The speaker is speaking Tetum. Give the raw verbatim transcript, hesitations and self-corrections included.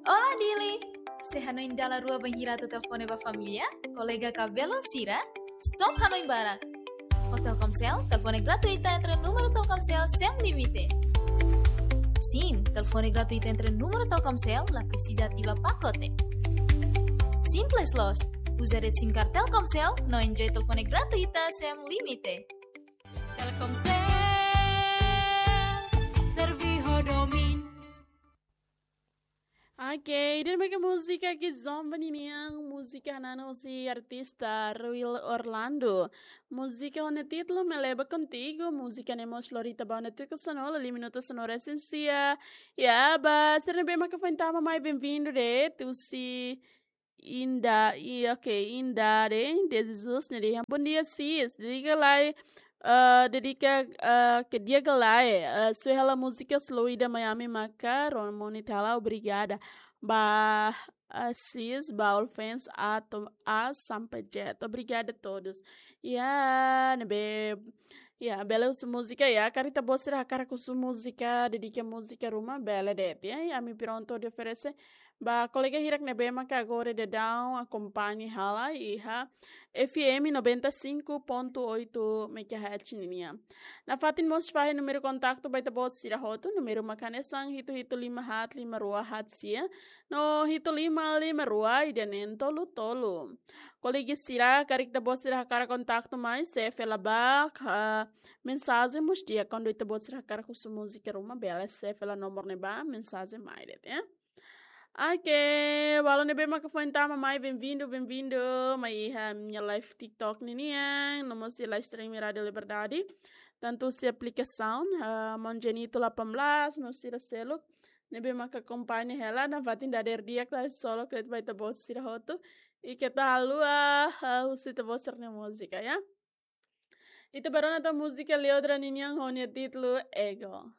Olá, Dili! Sei hanoin dala rua bainhira atu telefone ba família, kolega ka belun sira? Stop hanoin barak! Ho Telkomsel, telefone gratuita entre númeru Telkomsel sem limite. Sim, telefone gratuita entre númeru Telkomsel la presiza ativa pakote. Simples loos, uza de'it SIM card Telkomsel no enjoy telefone gratuita sem limite. Telkomsel, servi ho domin. Ok, ida-ne'e mak múzika Kizomba ninian, múzika hanesan husi artista Ruil Orlando. Múzika ho nia títulu Me Leva Contigo, múzika ne'e mós lori tiha ba ona tuku sanulu, lima minutu sanulu resin sia. Ya, ba, sira ne'ebé maka foin tama mai, bem-vindo de'it, husi Inda, i, ok, Inda de, de Jesus, ne'e dehan: Bom dia, sis. Dedika lai, eh, dedika, eh, ke dia ke lai, eh, sue hela múzika Slow ida Miami maka, Ron Moni Tala, obrigada. Ba, eh, sis, ba all fans, A to, A sampai Z. Obrigada a todos. Ya, ne'ebé, ya, bele husu múzika, ya, karik ita-boot sira hakarak husu múzika, dedika múzika ruma, bele de'it, ya, ami pronto de oferese. Ba kolega hirak ne'ebé maka agora daudaun akompaña hela iha F M noventa e cinco ponto oito megahertz ninian. Nafatin mós fahe númeru kontaktu ba ita-boot sira hotu, númeru maka hanesan hitu hitu lima haat lima rua haat sia, no hitu lima lima rua ida neen tolu tolu. Kolega sira, karik ita-boot sira hakarak kontaktu mai, sei fila ba, ah, mensajen mós di'ak kuandu ita-boot sira hakarak husu múzika ruma, bele sei fila nomor ne'ebá, mensajen mai de'it, ya. Ok, balu ne'ebé maka foin tama mai, bem-vindo, bem-vindo mai iha ha'u-nia live TikTok ninian, no mós iha live stream Rádio Liberdade. Tantu husi aplikasaun, ah, Maun Jenito delapan belas, no sira seluk ne'ebé maka akompaña hela, nafatin dadeer di'ak, la solo kret ba ita-boot sira hotu. I keta haluha, ah, husu ita-boot sira-nia múzika, ya. Ita bá rona tan múzika Leodra ninian ho nia títulu Ego.